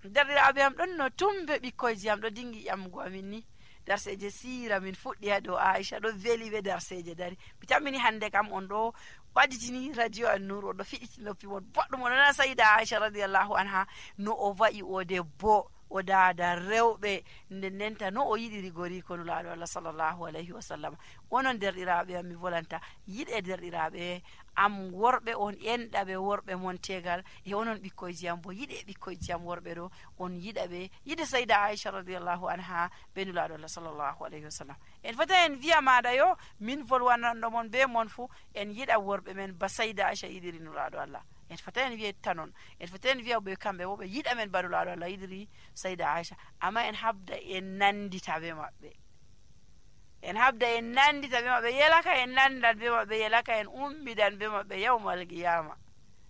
derɗiraaɓe am ɗon no tumbe ɓikkoyji am ɗo dingi ƴamgo amin ni darseje siira min fuɗɗi ha dow Aisha ɗo veli ɓe darseje dari mi tammini hande kam on ɗo ɓaditini radio an Nur on ɗo fiɗiti noppi mon boɗɗum on nana Sayida Aisha radiyallahu anha no o wa'i o debbo o dada rewɓe ndenta no o yiɗiri goriko nulaaɗo Allah sallallahu alayhi wa sallam. Onon derɗiraaɓe am mi volanta yiɗe derɗiraaɓe am worɓe on enɗaɓe worɓe mon tegal e onon ɓikkoyji am bo yiɗe ɓikkoyji am worɓe ɗo on yiɗaɓe yiɗe Sayida Aisha radiyallahu anha be nulaaɗo Allah sallallahu alayhi wa sallam. En fota en wiya maɗa yo min volwananɗo mon be mon fu en yiɗa worɓe men ba Sayida Aisha yiɗiri nulaaɗo Allah. En fota en wiya tanon en fota en wiya ɓe kamɓe wo ɓe yiɗa men ba nulaaɗo Allah yiɗiri Sayida Aisha, amma en habda en nandita be maɓɓe, en habda en nandita be maɓɓe, yelaka en nandan be maɓɓe, yelaka en ummidan be maɓɓe yawmal qiyama.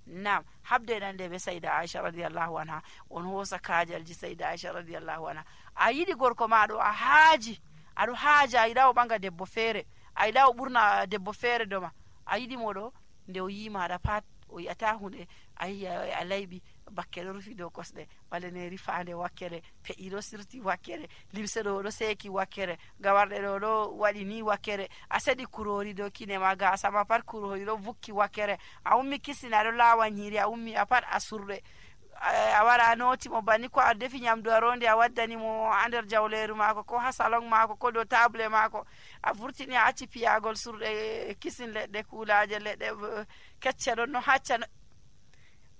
Nam habda en ande be Sayida Aisha radiyallahu anha on hosa kajalji Sayida Aisha radiyallahu anha. A yiɗi gorko maɗo a haaji aɗo haaja a yiɗa o ɓanga debbo feere, a yiɗa o ɓurna debbo feere doma, a yiɗi moɗo nde o yimaɗa pat o yiyata hunde a yiya a layɓi bakke ɗo rufi dow kosɗe, ɓaleneri fande wakkere, pe'i ɗo sirti wakkere, limse ɗo ɗo seeki wakkere, gawarɗe ɗo ɗo waɗi ni wakkere, a seɗi kurori dow kine ma, gasa ma pat kurori ɗo vukki wakkere, a ummi kissina ɗo lawa nyiri, a ummi a pat a surɗe, a wara a noti mo banni ko a defi nyamdu a ronde a waddani mo ha nder jawleru mako ko ha salon mako ko dow table mako, a vurtini a acci piyagol surɗe kisin leɗɗe kulaje leɗɗe kecce ɗon no hacca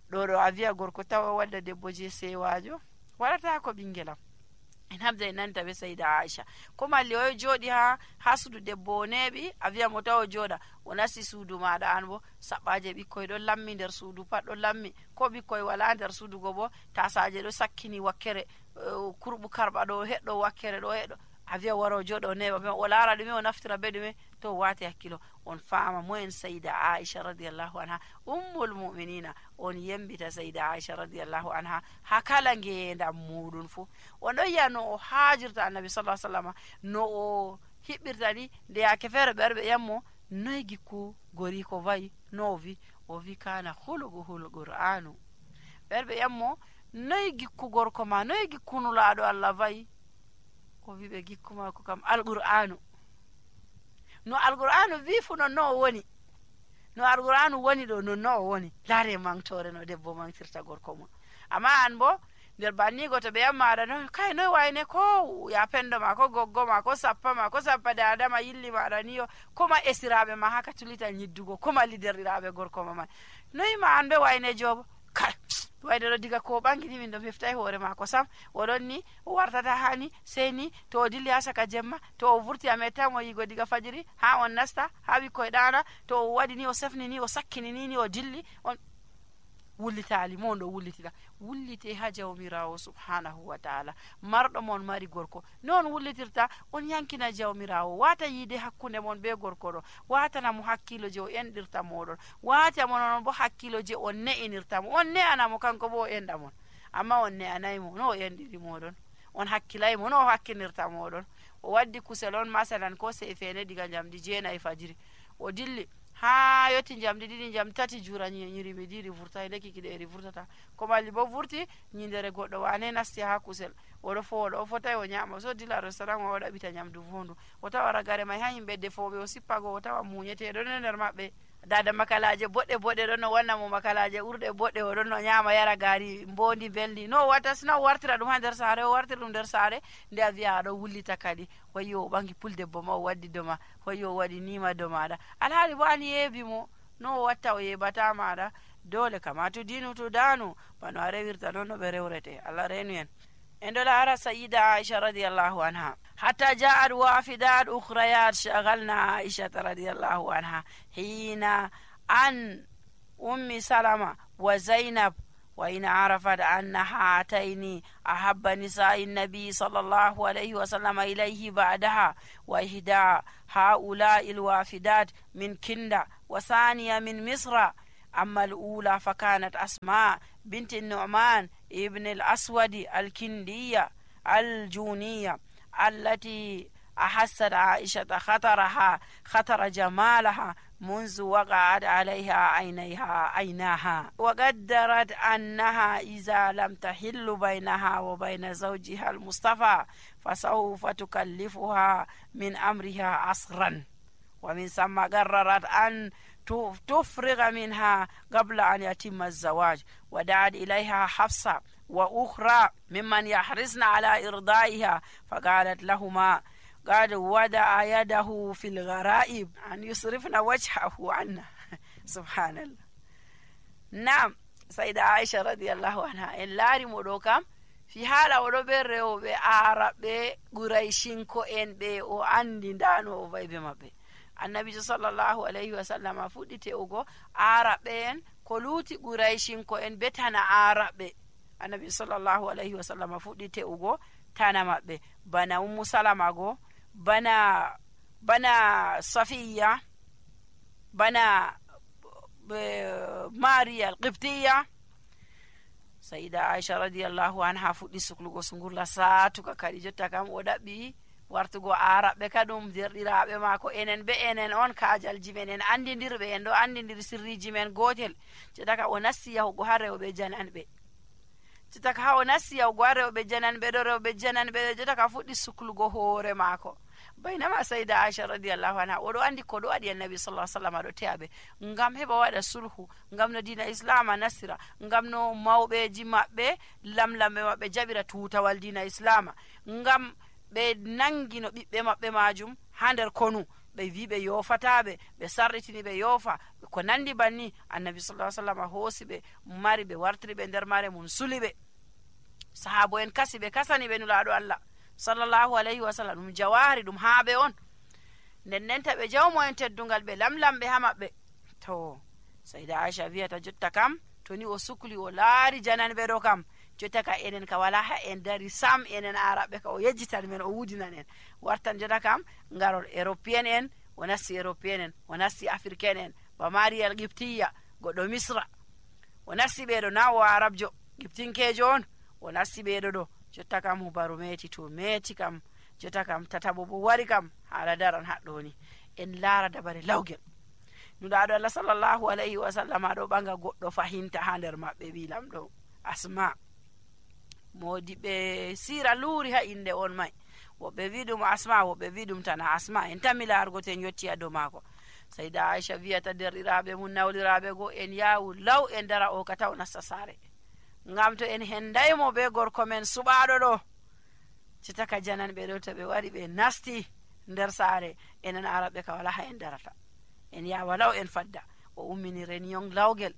ɗo a wiya gorko tawa wadda debbo je sewajo waɗata ko ɓingelam. En habda en nanta be Sayida Aisha ko malli o jooɗi ha suudu debbo o neeɓi a wiya mo tawa jooɗa o nasti suudu maɗa an bo saɓɓaje ɓikkoy ɗon lammi nder suudu pat ɗon lammi, ko ɓikkoy wala nder suudu go bo tasaje ɗo sakkini wakkere, kurɓu karɓa ɗo heɗɗo wakkere ɗo heɗɗo, a wiya wara o jooɗa o neeɓa o laara ɗume o naftira be ɗume to wati hakkilo on faama moyen Sayida Aisha radiyallahu anha ummul mu'minina, on yembita Sayida Aisha radiyallahu anha ha kala ngeendam muɗum fu on ɗon yiya no o haajirta annabi sallallahu alaihi wasallam, no o hiɓɓirta ni nde yake feere ɓerɓe ƴammo noye gikku gori ko wayi no o wi kana huluguhul qur'anu, ɓerɓe ƴammo noye gikku gorko ma noye gikku nulaaɗo Allah wayi, o wi ɓe gikku mako kam alqur'anu, no alqur'anu wi fu non no o woni, no alqur'anu woni ɗo non no o woni. Laare mangtore no debbo mangtirta gorko mum. Amma an bo nder bannigo to ɓe yammaɗa no kay noy wayne ko ya pendo ma ko goggo ma ko sappa ma ko sappa dada ma yilli maɗa niyo koma esiraɓe ma haka tulita nyiddugo koma liderɗiraɓe gorko ma man noy ma an ɓe wayne jobo kay wayde ɗo diga ko ɓangini min ɗo heftai hoore mako sam oɗon ni o wartata hani sey ni to o dilli ha saka jemma to o vurti a mettamo yigo diga fajiri ha on nasta ha ɓikkoye ɗana to o waɗi ni o sefni ni o sakkini ni o dilli on wullitali mo ɗo wullitira wullite ha jawmirawo subhanahu wa ta'ala, marɗo mon mari gorko non wullitirta on yankina jawmirawo, wata yiide hakkunde mon be gorko ɗo, watana mo hakkilo je o enɗirta moɗon, wata mo non bo hakkilo je on ne'inirta mo, on ne'anamo kanko bo o enɗa mon, amma on ne'anaymo no o enɗiri moɗon, on hakkilaymo no o hakkinirta moɗon. O waddi kusel on masalan ko sefene diga jamdi 9 fajiri o dilli ha yotti jamdi 2 jamdi 3 jura nyiri mi diri vurta leki kiɗeri vurtata ko malli bo vurti nyindere goɗɗo wane nasti ha kusel oɗo foɗo o fotai o nyama so dilla restaurant o ɗaɓita nyamdu fondu o tawa ragare mai ha yimɓe defoɓe o sippago o tawa muñeteɗo nder maɓɓe dada makalaje boɗɗe ɗon no wanna mo makalaje urde boɗɗe o ɗon no nyama yara gari mbondi beldi no watta sina o wartira ɗum ha nder saare o wartira ɗum nder saare nde a wiya aɗo wullita kadi wayyo o ɓangi puldebbo ma o waddi doma wayyo o waɗi nima do maɗa alhaali bo an yeebi mo no o watta o yeɓata maɗa dole kama to dinu to danu bano a rewirta noon no ɓe rewrete Allah renu en. En ɗo laara Sayida Aisha radiyallahu anha hatta ja'at wafidat ukhrayat shaghalna Aisha radiyallahu anha hina an ummi Salama wa Zainab wa in arafat anna hataini ahabba nisa'i nabi sallallahu alayhi wa sallam ilayhi ba'daha wa ihda ha'ula'i alwafidat min Kinda wa thaniya min Misra. أما الأولى فكانت أسماء بنت النعمان ابن الأسود الكندية الجونية التي أحست عائشة خطر جمالها منذ وقعت عليها عيناها وقدرت أنها إذا لم تحل بينها وبين زوجها المصطفى فسوف تكلفها من أمرها عصرا، ومن ثم قررت أن تفرغ منها قبل أن يتم الزواج، ودعت إليها حفصة وأخرى ممن يحرصن على إرضائها فقالت لهما قد ودع يده في الغرائب أن يصرفن وجهه عنه. سبحان الله. نعم، سيدة عائشة رضي الله عنها إن لاري مدوكم في حالة ودبر بعرب قريشين كوين بي او أندي دانو وبيبي مبي النبي صلى الله عليه وسلم فوديتي اوغو عربين كولوتي قريشين كوين بتانا عرب النبي صلى الله عليه وسلم فوديتي اوغو تانا مبي بنا سلمة غو بنا صفية بنا ماريا القبطية. سيدة عائشة رضي الله عنها فودي سكلوغو سنغورلا ساتوكا كادي jotta kam o dabbi wartugo arabe kadum derdiraabe maako enen be enen on kaajalji men en andidirbe en do andidiri sirriji men gotel cetaka o nassi yahugo ha rewbe jananbe cetaka ha o nassi yahugo ha rewbe jananbe cetaka fuddi suklugo hoore maako baynama sayda Aisha radiyallahu anha o do andi ko do adi annabi sallallahu alaihi wasallam do teabe ngam heba wada sulhu ngam no dina islama nasira ngam no mawbeji mabbe lamlambe mabbe jabira tutawal dina islama ngam be nangino bibbe mabbe majum ha nder konu be wi be yofatabe be sarritini be yofa ko nandi banni annabi sallallahu alaihi wasallam hosi be mari be wartiri be nder mare mun sulibe sahabo en kasi be kasani be nulaado Allah sallallahu alaihi wasallam dum jawari dum haabe on nennenta be jawmo en teddungal be lamlambe ha mabbe to sayda Aisha wiata jotta kam to ni o sukli o laari jananbe do kam jotta ka enen ka wala ha en dari sam enen arabe ka o yejjitan men o wudinan en wartan jotta kam ngarol européen en wonasi européen en wonasi africain en ba marial giptiya godo misra wonasi be do nawo arabjo giptinkejo on wonasi be do jotta kam hubaru meti to meti kam jotta kam tatabo bo wari kam hala daran haddo ni en laara dabare lawgel nudaado Allah sallallahu alaihi wasallam do banga goddo fahinta ha nder mabbe bilam do Asma modi be sira luri ha inde on mai wobe vidum Asma wobe vidum tana Asma en tamilargo ten yotti ado mako sayda Aisha wiata derirabe mun nawlirabe go en yawu law en dara o kataw nasasare ngam to en hendaymo be gorko men subaado do citaka jananbe do to be wari be nasti nder saare enen arabe ka wala ha en darata en ya walaw en fadda o ummini renion lawgel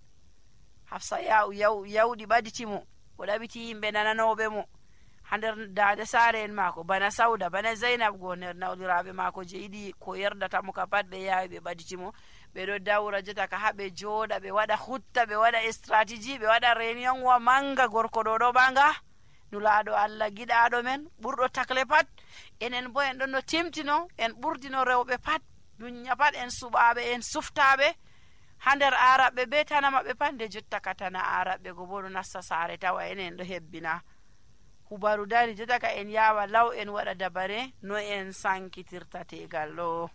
Hafsa yawdi baditimo o dabiti yimbe nananobe mo hander daade saare en mako bana Sauda bana Zainab go ner nawlirabe mako jeidi ko yerdata mo ka padbe yaawi be baditimo be do dawra jota ka habe joda be wada hutta be wada strategy be wada reunion wa manga gorko do banga nulaado Allah gidaado men burdo takle pat enen bo en don no timtino en burdino rewbe pat dunya pat en subaabe en suftaabe hander arabe be tanama be pande jotta katana arabe go bodo nassa sare tawa enen do hebbina hubaru dari jota ka en yawa law en wada dabare no en sankitirta tegallo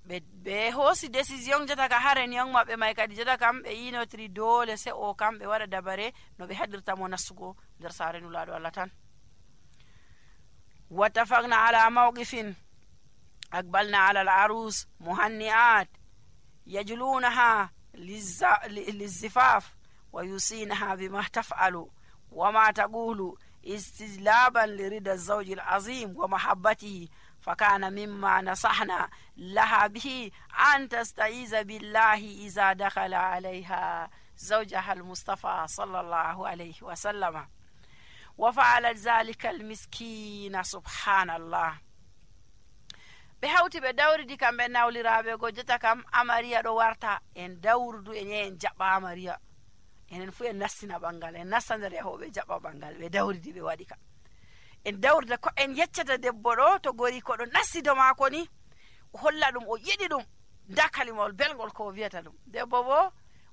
be hosi décision jota ka haren yang mabbe may kadi jota kam be yinotri dole se o kam be wada dabare no be hadirta mo nasugo der sare nulaado Allah tan watafaqna ala mawqifin أقبلنا على العروس مهنئات يجلونها للزفاف ويوصينها بما تفعل وما تقول استجلابا لرضا الزوج العظيم ومحبته فكان مما نصحنا لها به أن تستعيذ بالله إذا دخل عليها زوجها المصطفى صلى الله عليه وسلم وفعلت ذلك المسكين سبحان الله be hawti be dawridi kambe nawliraabe go jota kam amariya do warta en dawrudu en jabba amariya enen fu en nassina bangal en nassandere hobe jabba bangal be dawridi be wadi ka en dawrida ko en yeccata debbo do to gori ko do nassido mako ni holla dum o yidi dum dakalimol belgol ko wiata dum debbo bo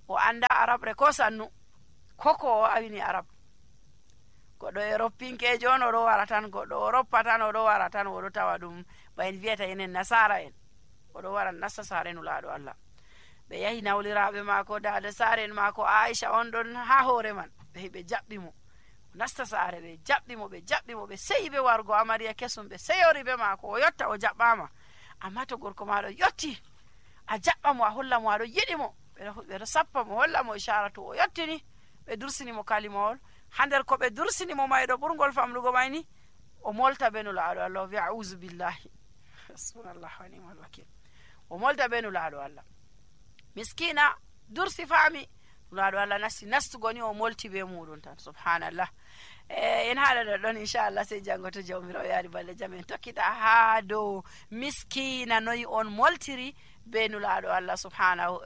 o anda arabre ko sannu koko awini arab godo europinke jono do waratan godo europa tan o do waratan o do tawa dum bayin vieta enen nasara en oɗo wara nasta saare nulaaɗo Allah. ɓe yahi nawliraaɓe maako dada saare maako Aisha on ɗon ha hoore man, ɓe heɓe jaɓɓi mo nasta saare, ɓe jaɓɓi mo ɓe seyi ɓe wargo amariya kesum, ɓe seyori be maako o yotta o jaɓɓama. amma to gorko maɗo yotti a jaɓɓa mo a holla mo aɗo yiɗi mo, ɓeɗo sappa mo holla mo ishara to o yottini ɓe dursini mo kalimawol. ha nder ko ɓe dursini mo mayɗo ɓurgol famlugo mayni o molta be nulaaɗo Allah, o wi a'udhu billahi hasbunallahu wa ni'mal wakil, o molta be nulaaɗo Allah. miskina dursi faami, nulaaɗo Allah nastugo ni o molti be muɗum tan, subhanallah. en haala ɗon inchallah sey janngo to jawmirawo yaari balɗe jam en tokkita ha dow miskina noyi on moltiri be nulaaɗo Allah subhanahu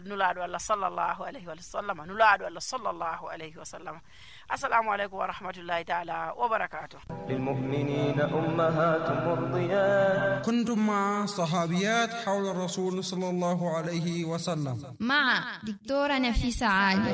nulaaɗo Allah sallallahu alayhi wa sallam, nulaaɗo Allah sallallahu alayhi wa sallam. assalamu aleykum wa rahmatullahi taala wa barakatuh. للمؤمنين أمهات مرضيات كنتم مع صحابيات حول الرسول صلى الله عليه وسلم مع دكتورة نفيسة عالي.